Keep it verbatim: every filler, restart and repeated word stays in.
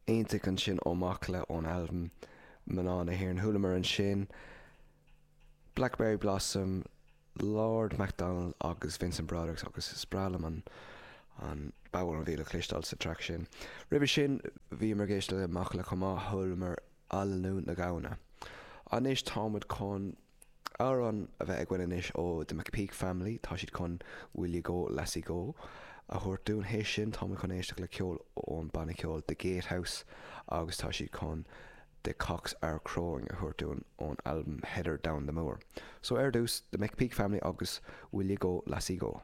Iontach ansin ó Macalla ón albam Mná na hÉireann. Chualamar ansin Blackberry Blossom, Lord MacDonald agus Vincent Broderick agus is breá liom an an bodhrán a bhí le cloisteáil sa traic sin. Roimhe sin bhíomar ag éisteacht le Macalla chomh maith chualamar Aililiú na Gamhna. Anois táimid chun amhrán a bheith againn anois ó The McPeak Family, tá siad chun Will You Go Lassie Go a thabhairt dúinn théis sin táimid chun éisteacht le ceol ón banna ceoil The Gatehouse agus tá siad chun The Cocks Are Crowing a thabhairt dúinn ón albam Heather Down the Moor. So ar dtús The McPeak Family agus Will You Go Lassie Go.